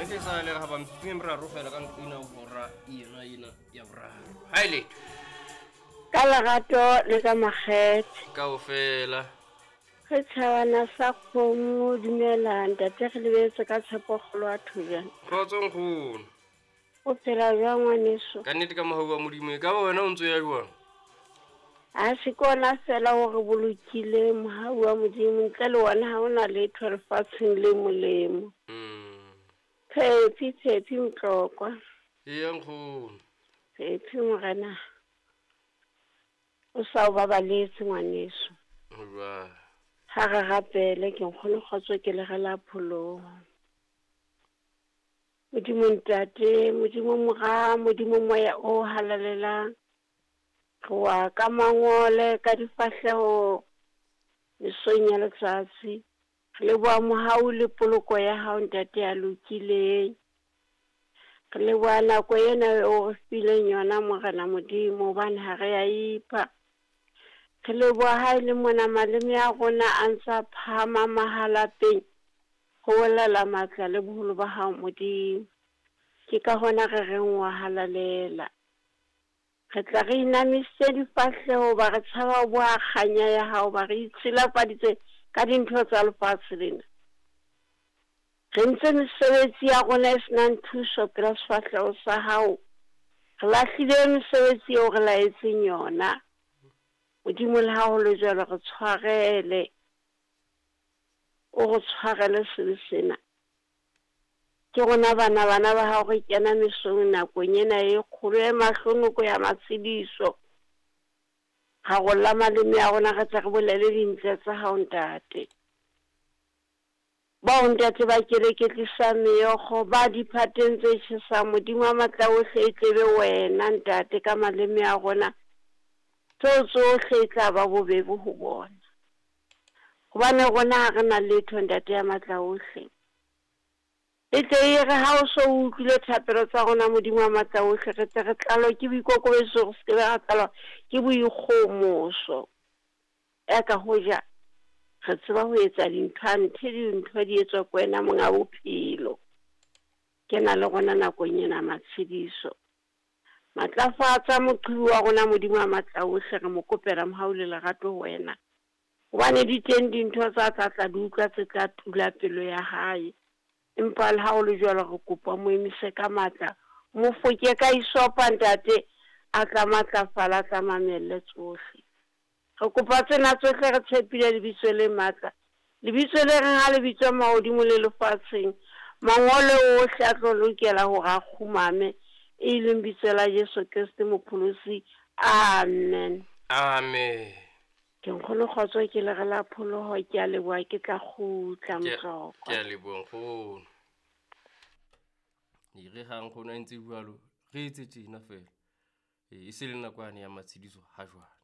Nnete e sa le ga ba metsotso e meraro fela ka nqina hora yena ena ya boraro. Ha e letho. Ka lerato le ka makgethe. Kaofela. Re tjhabana sa kgomo dumela ntate re lebetse ka tshepo kgolo wa Thobjana. Kgotso nkgono. O phela jwang ngwaneso? Ka nnete ka mohau wa Modimo e ka ba wena o ntso ya jwang? A se ke ona fela o re bolokile mohau wa Modimo ntle le wona ha ona letho lefatsheng le molemo. Phephi phephi Mtlokwa. Eya nkgono. Phephi morena. O sa o babaletse ngwaneso. Jwang? Ha re rapele ke nkgono kgotso ke le re la pholoho. Modimo Ntate, Modimo Mora, Modimo Moya o Halalelang. Re wa ka mangole ka difahleho mesong ya letsatsi. Re leboha mohau le poloko ya hao Ntate ya lokileng. Re leboha nako ena eo o re fileng yona Morena Modimo hobane ha re ya ipha. Re leboha ha e le mona maleme a rona a ntse a phahama mahalapeng ho bolela matla le boholo ba hao Modimo. Ke ka hona re reng wa halalela. Re tla re inamisitse difahleho ba re tshaba ho boha kganya ya hao ba re itshilafaditse ka dintho tsa lefatshe lena. Re ntse mesebetsi ya rona e senang thuso pela sefahleho sa hao. Re lahlile mesebetsi eo re laetseng yona. Modimo le ha ho le jwalo re tshwarele. O re tshwarele sebe sena. Ke rona bana bana ba hao re kena mesong nakong ena e kgolo e mahlonoko ya matshediso. Rarolla maleme a rona re tle re bolele dintle tsa hao ntate. Bao ntate ba keleketlisang meokgo ba diphateng tse tjhesang Modimo wa matla ohle e tlebe wena ntate ka maleme a rona. Tseo tsohle e tla ba bobebe ho bona. Hobane rona ha re na letho ntate ya matla ohle. E tle e re ha o so o utlwile thapelo tsa rona Modimo wa matla ohle re tle re tlalwe ke boikokobetso re se ke ra tlalwa ke boikgomoso. Ya ka hoja re tseba ho etsa dintho anthe dintho di etswa ke wena monga bophelo. Ke na le rona nakong ena matshediso. Matlafatsa moqhibi wa rona Modimo wa matla ohle re mo kopela mohau le lerato ho wena. Hobane di teng dintho tsa tla tla di utlwa tse tla tula pelo ya hae. Empa le ha ho le jwalo re kopa mo emise ka matla. Mo foke ka isopa ntate a tla matlafala a tla mamelle tsohle. Re kopa tsena tsohle re tshepile lebitso le matla. Lebitso le reng ha le bitswa mahodimo le lefatsheng. Mangolo ohle a tlo lokela hore a kgumame e leng bitso la Jesu Kriste Mopholosi. Amen. Amen. Ke nkgono kgotso ke le re la pholoho ke a leboha ke tla kgutla Mtlokwa. Ke a leboha nkgono. E re ha nkgono a ntse jwalo re etse tjena fela. E se le nako yane ya matshediso ha jwale.